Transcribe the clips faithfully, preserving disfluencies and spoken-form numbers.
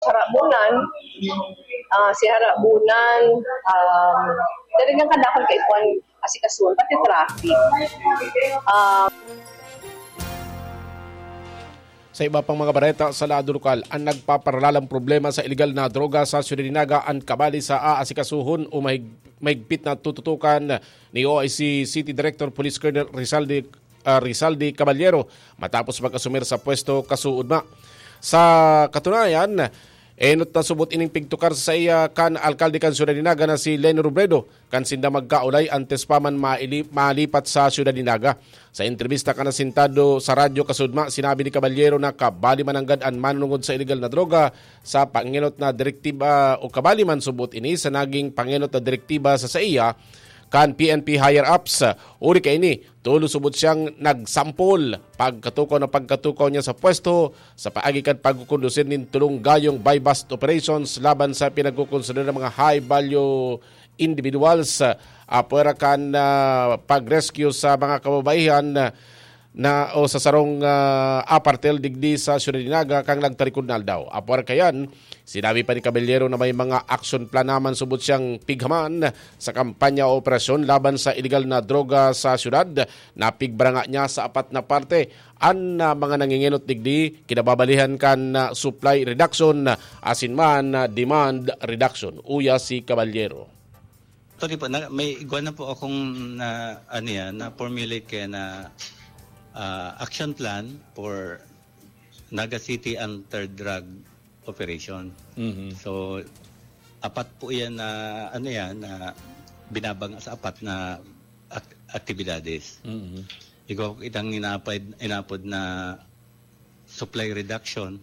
Harabunan, ah, si Harabunan, um, talagang kadakol kay Juan asikasuhan, pati traffic. Ah, Sa iba pang mga bareta sa lado lokal, ang nagpaparalalang problema sa iligal na droga sa Ciudad de Naga an kabali sa aasikasuhon o mahig- mahigpit na tututukan ni O I C City Director Police Colonel Rizaldi, ah, Rizaldi Caballero matapos mag-asumir sa pwesto kasuodma. Sa katunayan, enot na subot ining pigtukar sa iya kan alkalde kan Ciudad de Naga na si Leni Robredo kan sinda magkaulay antes pa man maili- malipat sa Ciudad de Naga. Sa entrebista kan asintado sa radyo kasudma, sinabi ni Caballero na kabali mananggad an manunungod sa iligal na droga sa pangenot na direktiba o kabali man subot ini sa naging pangenot na direktiba sa saiya kan P N P higher-ups. Uli kaini, tulo subot siyang nagsampol pagkatukaw na pagkatukaw niya sa pwesto sa paagi kan pagkukondusir nin tulong gayong buy-bust operations laban sa pinagkukonsidera mga high-value individuals, ah, apwera kan, ah, pag-rescue sa mga kababaihan na o sa sarong, ah, apartel digdi sa Ciudad de Naga kan nagtarikod na aldaw. Apwera kayan, sinabi pa ni Caballero na may mga action plan naman subot siyang pighaman sa kampanya o operasyon laban sa iligal na droga sa syudad. Napigbaranga niya sa apat na parte an, ah, mga nangingenot digdi, kinababalihan kan, ah, supply reduction asin man, ah, demand reduction. Uya si Caballero. Actually po, na, may igwa na po akong na, ano yan, na formulate kaya na ah, action plan for Naga City Anti-Drug Operation. Mhm. So, apat po yan na, ano yan, na binabanga sa apat na ak- aktibidades. Mhm. Ikaw, itang inapod, inapod na supply reduction,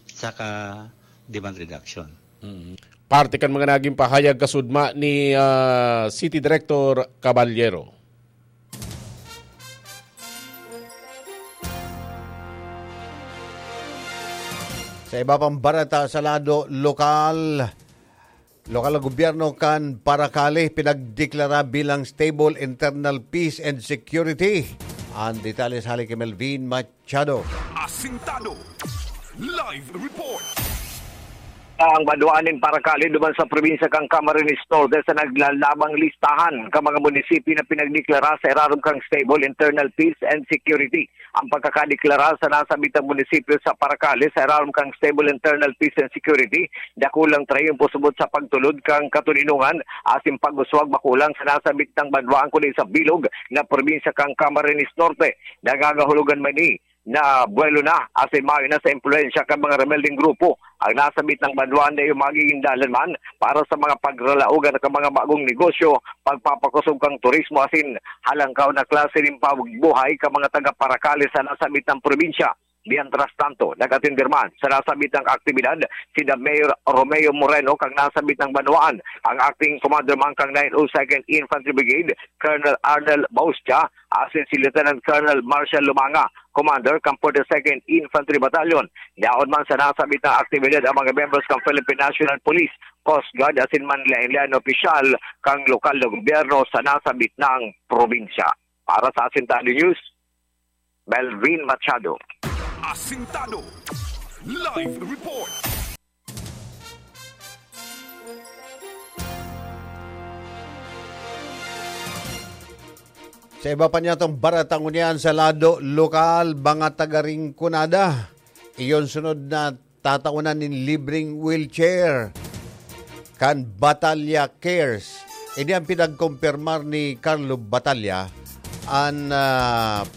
saka demand reduction. Mhm. Parte kan mga naging pahayag kasudma ni, ah, City Director Caballero. Sa iba pang bareta sa lado lokal, lokal na gobyerno kan Paracale pinagdeklara bilang stable internal peace and security. Ang detalye hali kay Melvin Machado. Asintado. Live report. Ang banwaan nin Paracale duman sa probinsya kan Camarines Norte sa naglalabang listahan kan mga munisipyo na pinagdeklara sa irarom kan stable internal peace and security. Ang pagkakadeklara sa nasabitang munisipyo sa Paracale sa irarom kan stable internal peace and security, dakulang trayon pusubot sa pagtulod kan katoninongan asin pag-uswag makulang sa nasabitang banwaan kundi sa bilog na probinsya kan Camarines Norte. Nangangahulugan man ini na buwelo na asin mayo na sa impluwensya kan mga rebeldeng grupo ang nasabitang banwaan na iyo magiging dalan man para sa mga pagralaogan kan mga bagong negosyo, pagpapakosog kan turismo asin halangkaw na klase nin pagbuhay kan mga taga-Paracale sa nasabitang probinsya. Mientras tanto, nag-atender man sa nasabitang aktibidad si The Mayor Romeo Moreno kan nasabitang banwaan, ang acting commander man kan nine oh second Infantry Brigade, Colonel Arnel Baustia, asin si Lieutenant Colonel Marshall Lumanga, Commander kan forty-second Infantry Battalion. Yaon man sa nasabitang aktibidad ang mga membros kan Philippine National Police, Coast Guard asin man lain-lain na opisyal kan lokal na gobyerno sa nasabitang probinsya. Para sa Asintado News, Melvin Machado. Asintado. Live report. Sa iba pa niyatong bareta ngunyan sa lado lokal, mga taga Rinconada, iyon sunod na tatawanan nin libreng wheelchair kan Batalya Cares. Ini ang pinagkumpirmar ni Carlo Batalya, an ah,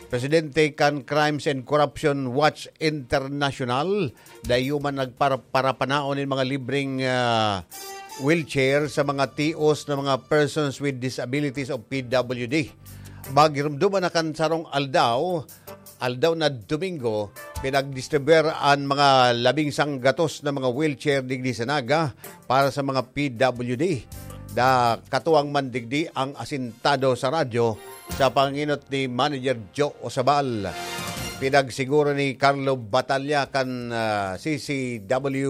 presidente kan Crimes and Corruption Watch International, dai man nagparaparapanaon nin mga libreng ah, wheelchair sa mga tios na mga persons with disabilities o P W D. Maghirumduman na kan sarong aldaw, aldaw na Domingo, pinagdistribuer an mga labing sanggatos na mga wheelchair digdi sa Naga para sa mga P W D. Da katuwang man digdi ang asintado sa radyo sa panginot ni Manager Joe Osabal. Pinagsiguro ni Carlo Batalla kan ah, C C W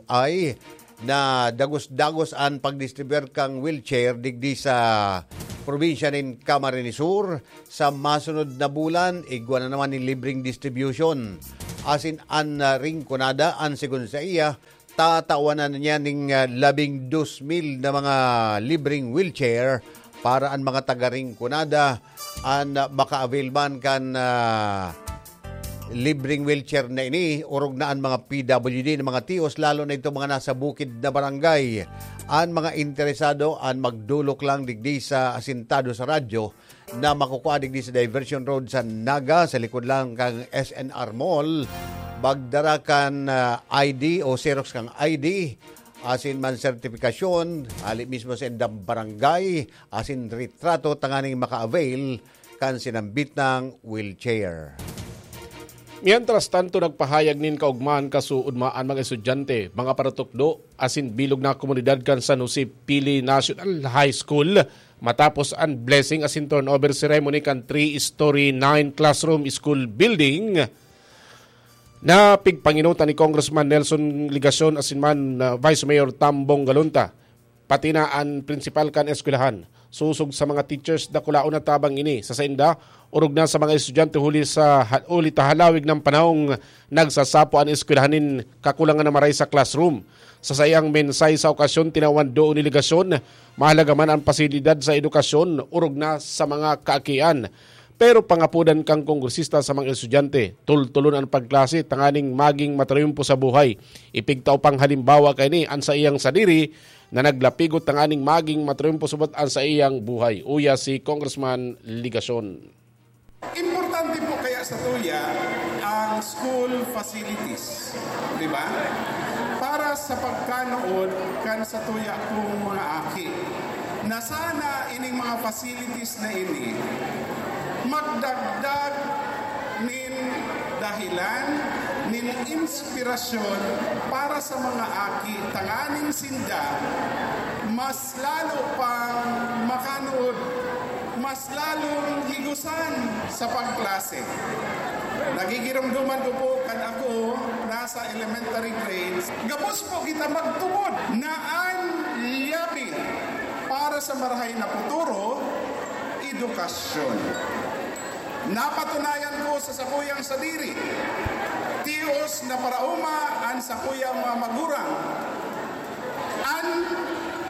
I na dagos-dagos an pagdistribuer kan wheelchair digdi sa probinsya nin Camarines Sur. Sa masunod na bulan, igwa na naman nin libreng distribution. asin an, ah, Rinconada, an segun sa iya, tatawanan niya ning, ah, labing dos mil na mga libreng wheelchair para an mga taga Rinconada an, ah, maka-avail man kan, ah, libreng wheelchair na ini, orog na an mga P W D na mga tios, lalo na itong mga nasa bukid na barangay. An mga interesado, an magdulok lang digdi sa asintado sa radyo na makukua digdi sa Diversion Road sa Naga, sa likod lang kan S N R Mall. Magdara kan, ah, I D o xerox kan I D, asin man sertifikasyon, hali mismo sa indang barangay, asin retrato tanganing maka-avail kan sinambit na wheelchair. Mientras tanto, nagpahayag nin kaugmahan kasuodma an mga estudyante, mga paratukdo, asin bilog na komunidad kan San Jose Pili National High School matapos an blessing asin turnover ceremony kan three-story, nine-classroom school building na pigpanginutan ni Congressman Nelson Legacion asin man, ah, Vice Mayor Tambong Galunta, pati na an prinsipal kan eskwelahan. Sosog sa mga teachers, dakulaon na tabang ini. Sa sainda, orog na sa mga estudyante huli sa ha-, huli ta halawig na panahong nagsasapo an eskwelahan nin kakulangan na maray sa classroom. Sa saiyang mensahe sa okasyon, tinawan doon ni Legacion, mahalaga man an pasilidad sa edukasyon, orog na sa mga kaakian. Pero pangapodan kan kongresista sa mga estudyante, tultulon an pagklase tanganing maging matriumpo sa buhay. Ipigtao pang halimbawa kaini an saiyang sadiri na naglapigot tanganing maging matriumpo subot an saiyang buhay. Uya si Congressman Legacion. Importante po kaya sa tuya ang school facilities, di ba? Para sa pagkanood kan sa tuya kong mga aki, na sana ining mga facilities na ini magdagdag nin dahilan, nin inspirasyon para sa mga aki, tanganing sinda mas lalo pang makanood, mas lalong higusan sa pagklase. Nagigiromdoman ko po kan ako nasa elementary grades, gabos po kita magtubod na an liyabi para sa marahay na futuro, edukasyon. Napatunayan ko sa sakuyang sadiri, tios na paraoma an sakuyang mga magurang, an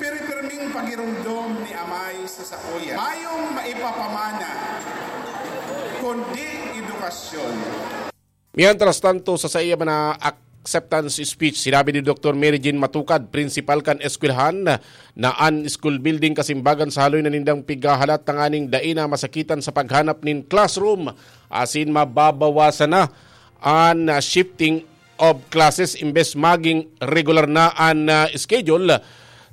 piripirming pagiromdom ni amay sa sakuya. Mayong maipapamana, kundi edukasyon. Mientras tanto, sa saiya man na acceptance speech, sinabi ni Doktor Mary Jean Matukad, prinsipal kan eskwelahan, na an school building kasimbagan sa haloy na nindang pighahalat tanganing dai na masakitan sa paghanap nin classroom, asin mababawasan na an, ah, shifting of classes imbes maging regular na an, ah, schedule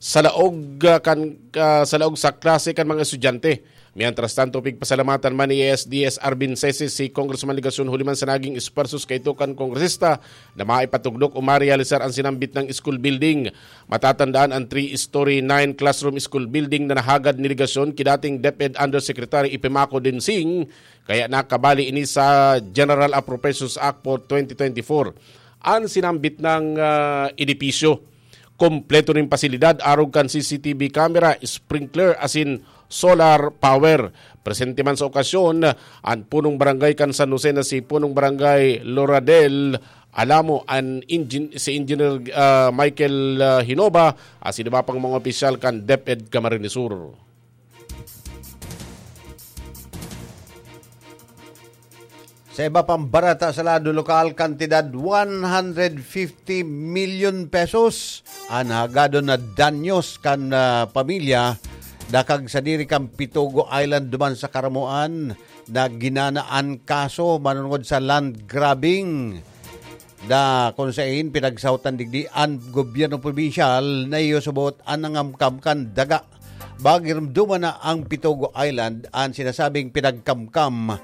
sa laog, ah, kan, ah, sa laog sa klase kan mga estudyante. Mientras tanto, pigpasalamatan man ni S D S Arvin Sese si Congressman Legacion huli man sa naging esfuerzos kaito kan kongresista na maipatugdok o marealisar an sinambit na school building. Matatandaan an three-story, nine-classroom school building na nahagad ni Legacion ki dating DepEd Undersecretary Epimaco Densing, kaya nakabali ini sa General Appropriations Act for twenty twenty-four. An sinambit na, ah, edipisyo, kompleto nin pasilidad arog kan C C T V camera, sprinkler asin solar power. Presente man sa okasyon an punong barangay kan San Jose na si punong barangay Loradel Alamo, an engin-, si Engineer, ah, Michael, ah, Hinoba, asin iba pang mga opisyal kan DepEd Camarines Sur. Sa iba pang bareta sa lado lokal, kantidad one hundred fifty milyon pesos an hagadon na danyos kan, ah, pamilya dakag sadiri kan Pitogo Island duman sa Caramoan na ginanaan kaso manongod sa land grabbing. Da kung sain pinagsahotan digdi an gobyerno probinsyal na iyo subot an nangamkam kan daga. Pagiromdoman na ang Pitogo Island an sinasabing pinagkamkam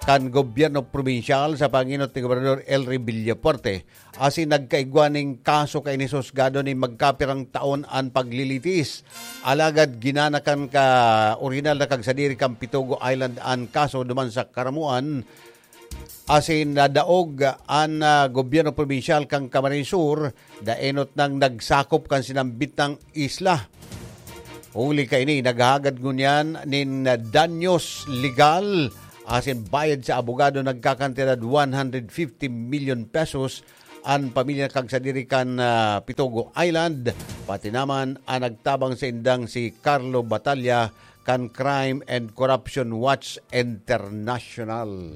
kan gobyerno probinsyal sa pangenot ni Gobernador Elry Villafuerte, asin nagkaigwa ning kaso kaini sa husgado nin magkapirang taon an paglilitis. Alagad ginana kan ka orihinal na kagsadiri kan Pitogo Island an kaso duman sa Caramoan, asin nadaog an, ah, gobyerno probinsyal kan Camarines Sur, daenot nang nagsakop kan sinambit na isla. Huli kaini, naghahagad ngunyan nin danyos legal asin bayad sa abogado nagkakantidad one hundred fifty million pesos an pamilya kan sadiri kan, ah, Pitogo Island, pati naman an nagtabang sa indang si Carlo Batalla kan Crime and Corruption Watch International.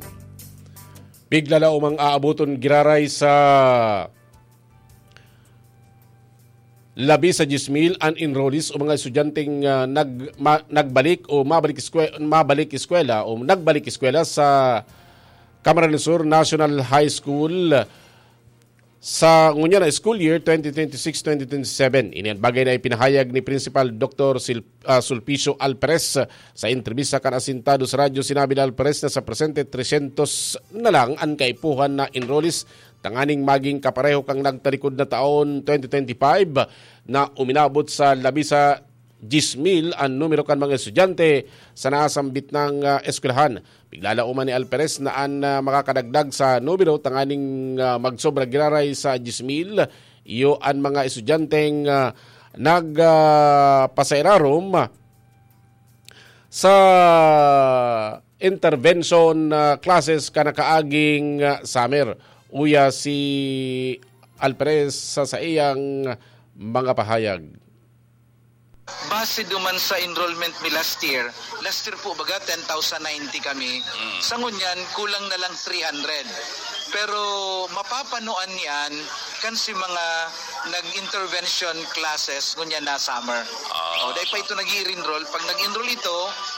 Pigla na umang aaboton giraray sa labi sa diyes mil an enrollees o mga estudyanteng, ah, nag-, ma-, nagbalik o mabalik eskwe-, mabalik eskwela o nagbalik eskwela sa Camarines Sur National High School sa ngunyan na school year twenty twenty-six twenty twenty-seven. Ini an bagay na ipinahayag ni Principal Doctor Sil-, ah, Sulpicio Alperes. Sa entrebista kan Asentados Radyo, sinabi ni Alperes na sa presente, tresyentos na lang an kaipuhan na enrollees tanganing maging kapareho kan nagtalikod na taon, twenty twenty-five, na uminabot sa labi sa diyes mil an numero kan mga estudyante sa nasambit nang, ah, eskwelahan. Piglalauman ni Alperes na an, ah, makakadagdag sa numero tanganing, ah, magsobra giraray sa diyes mil, iyo an mga estudyanteng, ah, nag, ah, pasairarom sa intervention, ah, classes kan nakaaging, ah, summer. Uya si Alperes sa saiyang mga pahayag. Base duman sa enrollment mi last year, last year po baga ten thousand ninety kami. Mm. Sa ngunyan, kulang na lang three hundred. Pero mapapanoan yan kan si mga nag-intervention classes ngunyan na summer. Ah. O, dahil pa ito nag-i-enroll. Pag nag-enroll ito,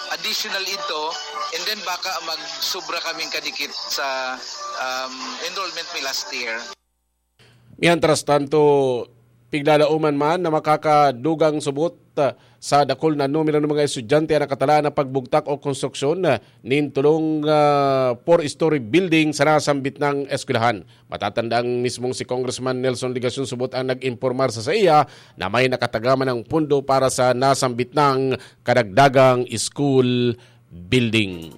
additional ito, and then baka magsubra kaming kadikit sa, um, enrollment mi last year. Mientras tanto, piglalauman man na makakadugang subot, ah, sa dakul na numero ng mga estudyante ang nakatalaan na pagbugtak o konstruksyon, ah, nin tolong, ah, four-story building sa nasambit nang eskwelahan. Matatanda ang mismong si Congressman Nelson Legacion subot ang nag-impormar sa saiya na may nakatagama ng pundo para sa nasambit nang kadagdagang school building.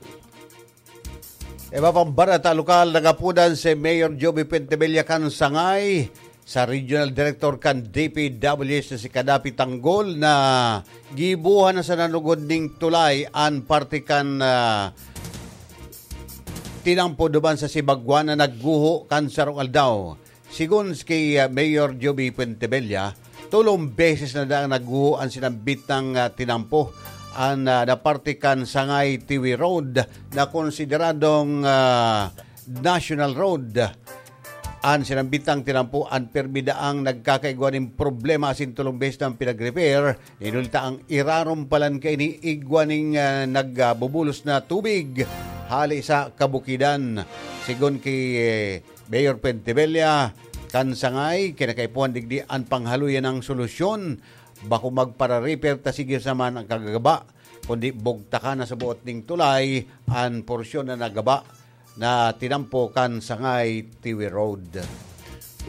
Iba pang bareta lokal, nagapudan si Mayor Joby Pentebella kan sangay sa Regional Director kan D P W H na si Kadapi Tanggol na gibuhan na sa nanugod ning tulay an parte kan, ah, tinampo duman sa Sibagwan na nagguho kan sarong aldaw. Sigon ki, ah, Mayor Joby Puentebella, tolong beses na daang nagguho an sinambit nang, ah, tinampo, an, ah, na parte kan Sangay Tiwi Road na konsideradong, ah, National Road. An sinambit nang tinampo an permi daang nagkakaigwa nin problema asin tolong beses na ang pinag-repair. Inulta ang irarom palan kaini igwa ning, ah, nagbubulos na tubig hali sa kabukidan. Sigon ki, eh, Mayor Pentebella, kan sangay, kinakaipuhan digdi an panghaloyan ng solusyon. Bako magpara-repair ta sige sa man ang kagagaba, kundi bugtakan na sa buot ning tulay an porsyon na nagaba na tinampo kan Sangay Tiwi Road.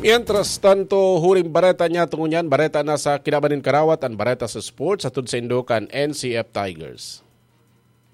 Mientras tanto, huring bareta niya tungo niyan, bareta na sa kinaban nin karawat, an bareta sa sports, hatod sa indo kan N C F Tigers.